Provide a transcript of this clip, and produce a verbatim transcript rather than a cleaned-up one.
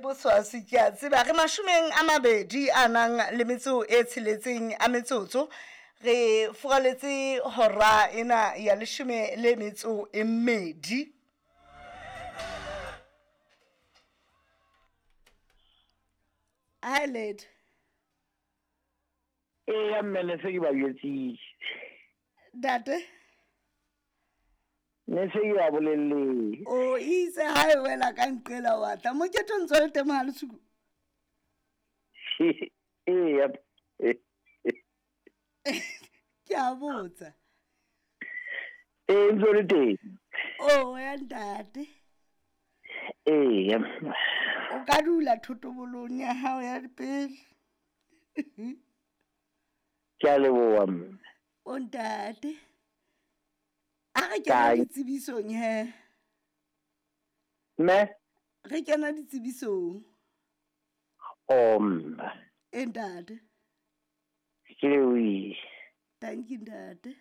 Boswasi ke a tseba re mashomeng a mabedi a nang le metso e tsheletseng a metsotso re furaletse hora ena ya leshome le metso e mmedi. Hi lady. Eya mme ne se ke ba jwetsitse. Ntate. Ne se ke ba bolelletse. O itse ha e wela ka nqela wa tla. Mokete o ntso le teng ha lesuku. Eya. Ke a botsa. Ee, ntso le teng. O ya ntate. Eya. O ka dula thotobolong ya hao ya pele. Ke a leboha mme. O ntate. A re kena ditsebisong he. Mme? Re kena ditsebisong. O mme. E ntate. Ke lebohile. Thank you ntate.